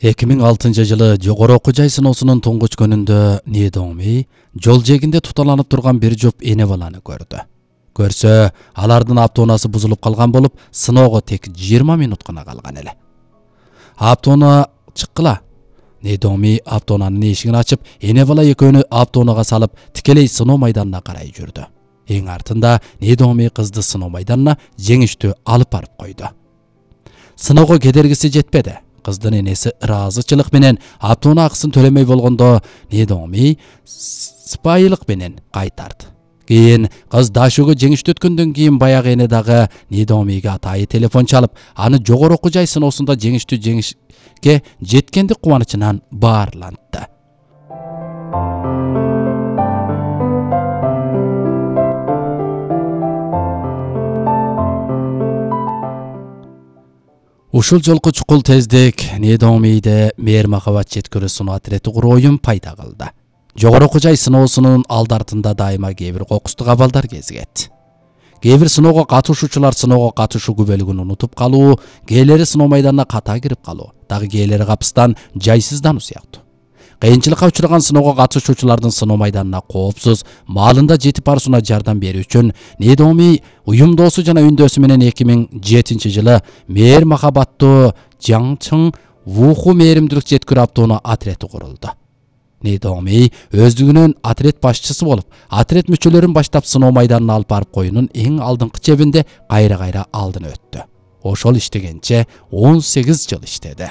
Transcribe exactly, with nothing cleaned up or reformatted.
эки миң алтынчы жылы жогору окуу жай сыноосунун туңгуч күнүндө Не Дongmi жол жээгинде туталанып турган бир жоп эне баланы көрдү. Көрсө, алардын автоунасы бузулуп калган болуп, сыноого тек жыйырма минут гана калган эле. Автоуна чыккыла. Не Dongmi автоунанын эшигин ачып, эне бала экөөнү автоунага салып, тикелей сыноо майданына карай жүрдү. Эң артында Не Dongmi кызды сыноо майданына жеңиштүү алып барып койду. Сыноого кедергиси жетпеди. Кыздын энеси ыраазычылык менен автоунаа акысын төлөмөй болгондо Не Dongmi сыпайылык менен кайтарды. Кийин кыз дашууга жеңиштүү өткөндөн кийин баягы эне дагы Не Dongmiге атайы телефон чалып, аны жогору окуу жай сыноосунда жеңиштүү жеңишке жеткендик кубанычынан баарлантты. Ушул жолку чукул тездик Не Dongmi'де мээр махабат жеткирүү сыноо отрети куруу оюн пайда кылды. Жогору окуу жай сыноосунун алды артында дайыма кээ бир кокустук абалдар кезигет. Кээ бир сыноого катышуучулар сыноого катышуу күбөлүгүн унутуп калуу, кээлери сыноо майданына ката кирип калуу, дагы кээлери капыстан жайсыздануу сыяктуу. Кыйынчылыкка учураган сыноого катышуучулардын сыноо майданына коопсуз, маалында жетип баруусуна жардам берүү үчүн Не Dongmi уюмдоосу жана үндөсү менен эки миң жетинчи жылы мээр махабаттуу Жаңчың Вуху мээримдүүлүк жеткирүү автоунаа отрети курулду. Не Dongmi өздүгүнөн отрет башчысы болуп, отрет мүчөлөрүн баштап сыноо майданына алып барып коюунун эң алдыңкы чебинде кайра-кайра алдын өттү. Ошол иштегенче он сегиз жыл иштеди.